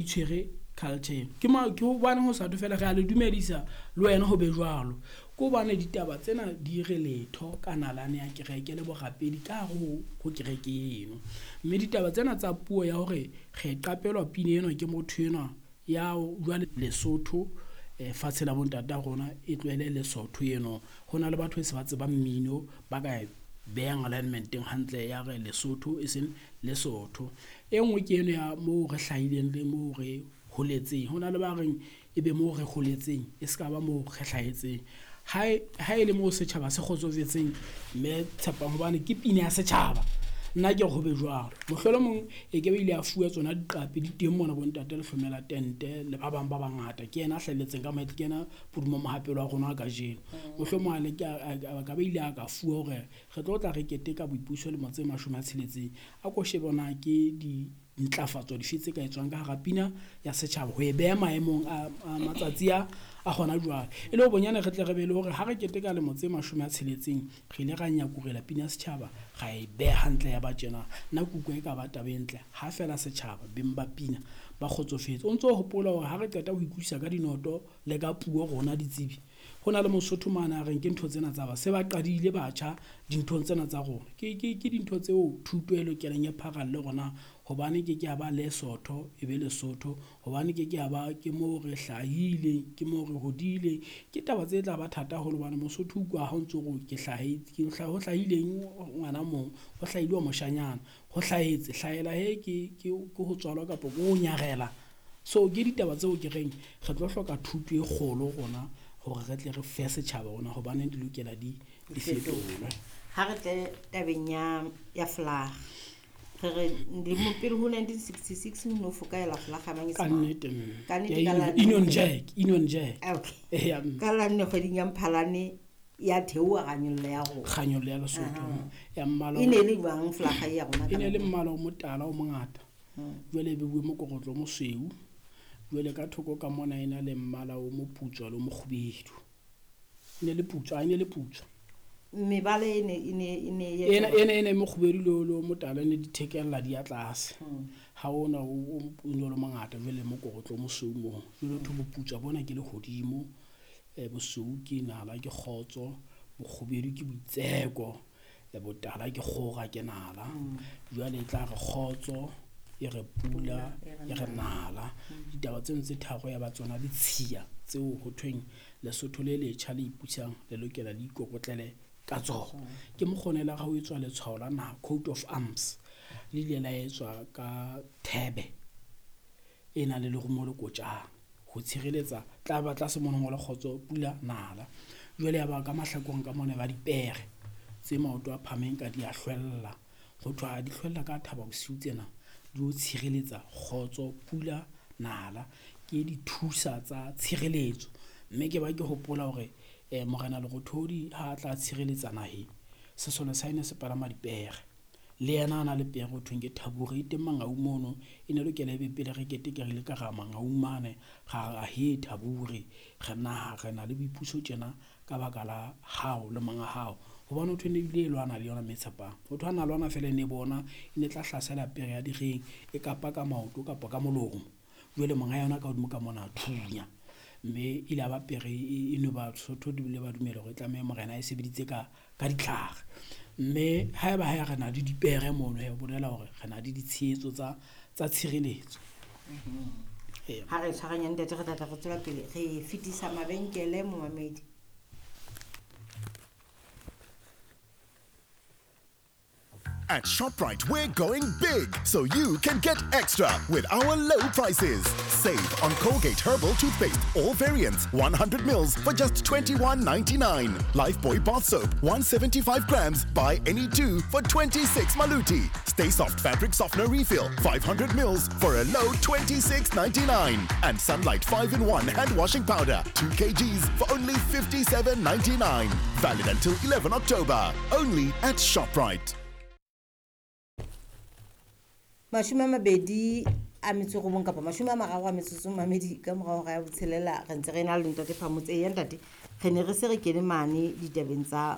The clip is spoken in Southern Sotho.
Itshwere culture eno. Ke ma ke hobane ho sa thwe fela re a le dumedisa le wena ho be jwalo. Ke hobane ditaba tsena di re letho ka nalane ya kereke le borapedi ka hare ho kereke eno. Mme ditaba tsena tsa puo ya hore re qapelwa pina ena ke motho enwa ya jwale Lesotho fatshe la bontata rona e tlohele Lesotho eno. Ho na le batho e se ba tsebang mmino ba ka e behang alignment-eng hantle ya re Lesotho e seng Lesotho. E nngwe ke eno ya moo re hlahileng le moo re holetseng. Ho na le ba reng ebe moo re holetseng e ska ba moo re hlahetseng. Ha e le moo setjhaba se kgotsofetseng mme Tshepang hobane ke pina ya setjhaba. Nna ke re ho be jwalo. Mohlolomong e ke be ile a fuwa tsona diqapi di teng mona bo ntate Lehlomela Tente le ba bang ba bangata. Ke yena a hlahelletseng ka mahetla, ke yena Pudumo Mohapelo wa rona wa kajeno. Mohlomong a leke a ka ba ile a ka fuwa hore re tlo tla re keteka boipuso lemo tse 60. A ko shebe na ke di ntlafatso dife tse ka etswang ka hara pina ya setjhaba ho e beha maemong a matsatsi a hona jwale. E le ho bonyane re tle re be le hore ha re keteka lemo tse 60 re ile ra nyakurela pina ya setjhaba ra e beha hantle ya ba tjena. Nna ke utlwa e ka ba taba e ntle ha fela setjhaba beng ba pina ba kgotsofetse. O ntso hopola hore ha re qeta ho ikutlwisa ka dinoto le ka puo rona ditsebi, ho na le Mosotho mane a reng ke ntho tsena tsa ba se ba qadile batjha dinthong tsena tsa rona. Ke dintho tseo thuto e lokelang e pharalle rona hobane ke ke ya ba Lesotho e be Lesotho, hobane ke ke ya ba ke moo re hlahile, ke moo re hodile. Ke taba tse tla ba thata haholo hobane Mosotho utlwa ha o ntso re ke hlahetse, ho hlahileng ngwana mong, ho hlahile wa moshanyana, ho hlahetse, hlahela he ke ho tswalwa kapa ke ho nyarela. So ke ditaba tseo ke reng re tlo hloka thuto e kgolo rona hore re tle re fe setjhaba rona hobane di lokela di fetolwe. Ha re tle tabeng ya flag. Re re lemo pele ho 1966 no fokaela flag ya Manyesemane. Ka nnete, mme. Ka nnete, Ya ka la Union Jack, Union Jack. Okay. Ya, mme. Ka la nne kgweding ya Mphalane ya theoha kganyollo ya rona. Kganyollo ya Lesotho. Ya mmala E ne le jwang flag ya rona ka E ne le nako? mmala o motala o mongata. Jwale e beuwe mokorotlo o mosweu. Jwale ka thoko ka mona e na le mmala o moputswa le o mokgubedu. E ne le putswa, e ne le putswa. Mebala e ne, e ne, e ne e Ena, etsa ena, ena e mokgubedu le o motala ne di thekella di ya tlase. Ha ona o ne o le mongata jwale mokorotlo o mosweu moo. Jwale ho thwe boputswa bona ke lehodimo, bosweu ke nala ke kgotso, bokgubedu ke boitseko, botala ke kgora ke nala. Jwale e tla re kgotso, e re pula, e re nala. Ditaba tseno tse tharo ya ba tsona ditshiya tseo ho thweng Lesotho le letjha le ipusang le lokela le ikokotlele ka tsona. Ke mokgonela ha ho etswa letshwao la naha, coat of arms, le ile la etswa ka thebe e nang le lerumo le kotjana ho tshireletsa tla ba tlase mono ngolwa kgotso pula nala. Jwale ya ba ka mahlakoreng ka mona ba dipere tse maoto a phahameng ka di a hlwella. Ho thwe ha di hlwella ka thaba bosiu tsena di o tshireletsa kgotso pula nala, ke dithusa tsa tshireletso. Mme ke ba ke hopola hore Morena Lerothodi ha a tla tshireletsa naheng, sesole sa ene se palama dipere. Le yena a na le pere ho thweng ke Thabure, e teng Mangaung mono, e ne lokela ebe pele re keteke re ile ka ra Mangaung mane, ra re he Thabure, re naha re na le boipuso tjena ka baka la hao le monga hao. Hobane ho thwe ne ebile e lwana le yona mme Tshepang. Ho thwe ha na lwana fela e ne bona, e ne tla hlasela pere ya direng, e kapa ka maoto kapa ka molomo. Jwale monga yona ka hodimo ka mona a thunya. Mme ile ba pere e no ba Sotho di bile ba dumela hore e tlameha morena a e sebeditse ka ditlhare. Mme haeba ha re na le dipere mono, he bolela hore re na le ditshehetso tsa tshireletso. Ha re tshwaranya ntate, re tla tla re tswela pele re fetisa mabenkele momamedi. At ShopRite, we're going big, so you can get extra with our low prices. Save on Colgate Herbal Toothpaste, all variants, 100 mils for just $21.99. Lifebuoy Bath Soap, 175 grams, buy any two for 26 maluti. Stay Soft Fabric Softener Refill, 500 mils for a low $26.99. And Sunlight 5-in-1 Hand Washing Powder, 2 kgs for only $57.99. Valid until 11 October, only at ShopRite. Mashome a mabedi a metso e robong kapa mashome a mararo a metsotso mamedi ka morao ga ya botshelela, re ntse re na le ntate Phamotse. Eya ntate, re ne re se re kene mane ditabeng tsa